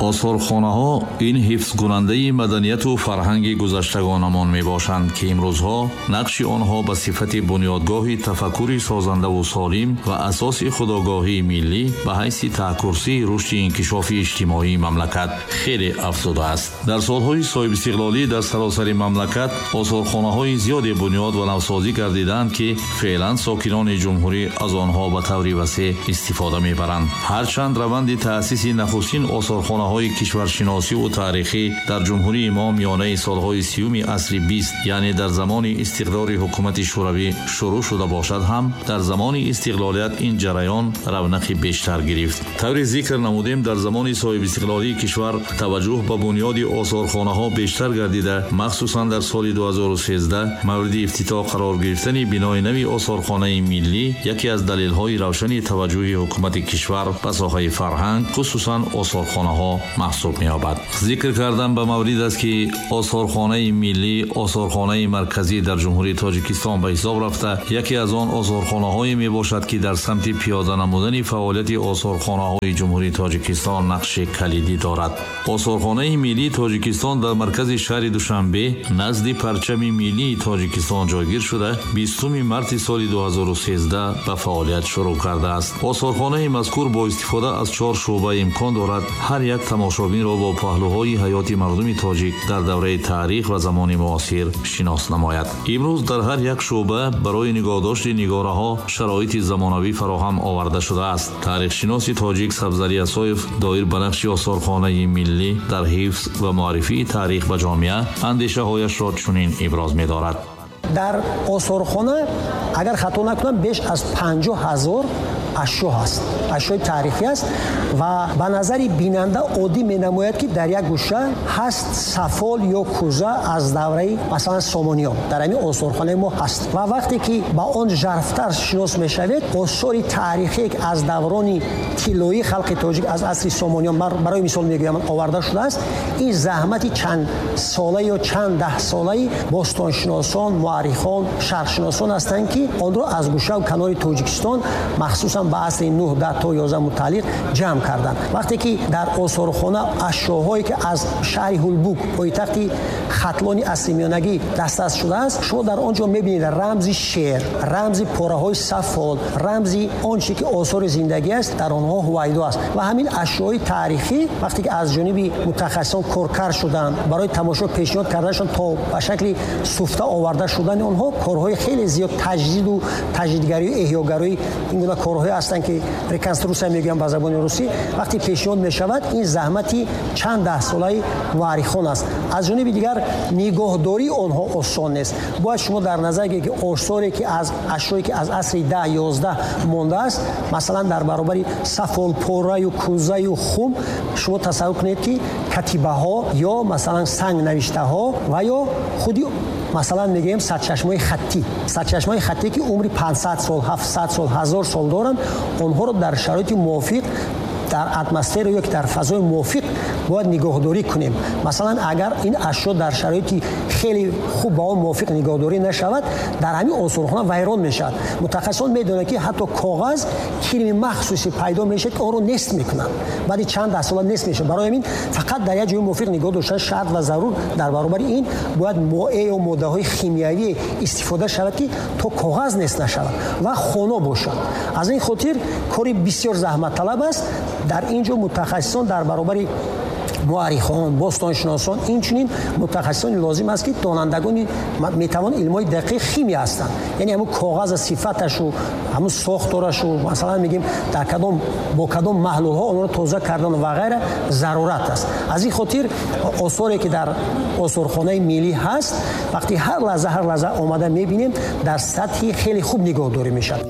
Осорхонаҳо ин ҳифзкунандаи маданияту фарҳанги гузаштагонамон мебошанд, ки имрӯзҳо нақши онҳо ба сифати бунёдгоҳи тафаккури созандаву солим ва асоси худогоҳии миллӣ ба ҳайси таҳкурсии рушди инкишофи иҷтимоии мамлакат хеле афзудааст. Дар солҳои соҳибистиқлолӣ дар саросари мамлакат осорхонаҳои зиёде бунёд ва навсозӣ гардиданд, ки феълан сокинони ҷумҳурӣ аз онҳо ба таври васеъ истифода мебаранд. Ҳарчанд раванди таъсиси нахустин осорхонаҳои кишваршиносиву таърихӣ дар ҷумҳурии мо миёнаи солҳои 30-уми асри 20, яъне дар замони истиқрори ҳукумати шӯравӣ шурӯъ шуда бошад ҳам, дар замони истиқлолият ин ҷараён равнақи бештар гирифт. Тавре зикр намудем, дар замони соҳибистиқлолии кишвар таваҷҷӯҳ ба бунёди осорхонаҳо бештар гардида, махсусан дар соли 2013 мавриди ифтитоҳ қарор гирифтани бинои нави осорхонаи миллӣ яке аз далелҳои равшани таваҷҷӯҳи ҳукумати кишвар ба соҳаи фарҳанг, хусусан осорхонаҳо маҳсуб меёбад. Зикр кардан ба маврид аст, ки осорхонаи миллӣ осорхонаи марказӣ дар Ҷумҳурии Тоҷикистон ба ҳисоб рафта, яке аз он осорхонаҳое мебошад, ки дар самти пиёда намудани фаъолияти осорхонаҳои Ҷумҳурии Тоҷикистон нақши калидӣ дорад. Осорхонаи миллии Тоҷикистон дар маркази шаҳри Душанбе назди парчами миллии Тоҷикистон ҷойгир шуда, 20 марти соли 2013 ба фаъолият шурӯъ кардааст. Осорхонаи мазкур бо истифода аз 4 шӯъба имкон дорад ҳар як тамошобинро бо паҳлӯҳои ҳаёти мардуми тоҷик дар давраи таърих ва замони муосир шинос намояд. Имрӯз дар ҳар як шӯъба барои нигоҳдошти нигораҳо шароити замонавӣ фароҳам оварда шудааст. Таърихшиноси тоҷик Сабзалӣ Асоев доир ба нақши осорхонаи миллӣ дар ҳифз ва муаррифии таърих ба ҷомеа андешаҳояшро чунин иброз медорад. Дар осорхона, агар хато накунам, беш аз 50 000 ашё ҳаст, ашёи таърихӣ аст ва ба назари бинанда оддӣ менамояд, ки дар як гӯша ҳаст сафол ё кӯза аз давраи, масалан, Сомониён дар ҳамин осорхонаи мо ҳаст. Ва вақте ки ба он жарфтар шинос мешавед, осори таърихие ки аз даврони тиллоии халқи тоҷик, аз асри Сомониён, барои мисол мегӯям, оварда шудааст, ин заҳмати чанд сола ё чанд даҳсолаи бостоншиносон, муаррихон, шарқшиносон ҳастанд, ки онро аз гӯшаву канори Тоҷикистон, махсусан ба асри 9, 10 то 11 мутааллиқ ҷамъ карданд. Вақте ки дар осорхона ашёҳое ки аз шаҳри Ҳулбук, пойтахти Хатлони асри миёнагӣ, дастрас шудааст, шумо дар он ҷо мебинед рамзи шеър, рамзи пораҳои сафол, рамзи он чизе ки осори зиндагӣ аст, дар онҳо ҳувайдо аст. Ва ҳамин ашёҳои таърихӣ вақте ки аз ҷониби мутахассисон коркард шуданд, барои тамошо пешниҳод карданашон то ба шакли суфта оварда шудани онҳо корҳои хеле зиёд таҷдиду таҷдидгарию эҳёгарии ин гуна корҳое ҳастанд, ки реконструксия мегӯям ба забони русӣ, вақте пешниҳод мешавад, ин заҳмати чанд даҳсолаи муаррихон аст. Аз ҷониби дигар, нигоҳдории онҳо осон нест. Бояд шумо дар назар гиред, ки осоре ки аз ашёе ки аз асри 10, 11 мондааст, масалан, дар баробари сафолпораю кӯзаю хум, шумо тасаввур кунед, ки катибаҳо ё, масалан, сангнавиштаҳо ва ё худи, масалан, мегӯем, сарчашмаҳои хаттӣ, сарчашмаҳои хаттӣ, ки умри 500 сол, 700 сол, 1000 сол доранд, онҳоро дар шароити мувофиқ, дар атмосфера ё ки дар фазои мувофиқ бояд нигоҳдорӣ кунем. Масалан, агар ин ашё дар шароити хеле хуб ба он мувофиқ нигоҳдорӣ нашавад, дар ҳамин осорхона вайрон мешавад. Мутахассисон медонанд, ки ҳатто коғаз кирми махсусе пайдо мешавад, ки онро нест мекунанд, баъди чанд даҳсола нест мешавад. Барои ҳамин фақат дар як ҷои мувофиқ нигоҳ доштан шарт ва зарур. Дар баробари ин бояд моеъ ё моддаҳои химиявӣ истифода шавад, ки то коғаз нест нашавад ва хоно бошад. Аз ин хотир кори бисёр заҳматталаб аст. Дар ин ҷо мутахассисон дар баробари муаррихон, бостоншиносон, инчунин мутахассисони лозим аст, ки донандагони метавон илмҳои дақиқ, химия ҳастанд, яъне ҳамун коғаза сифаташу, ҳамун сохторашу, масалан, мегӯем, дар кадом, бо кадом маҳлулҳо онро тоза кардан ва ғайра зарурат аст. Аз ин хотир осоре ки дар осорхонаи миллӣ ҳаст, вақти ҳар лаҳза, ҳар лаҳза омада мебинем, дар сатҳи хеле хуб нигоҳдорӣ мешавад.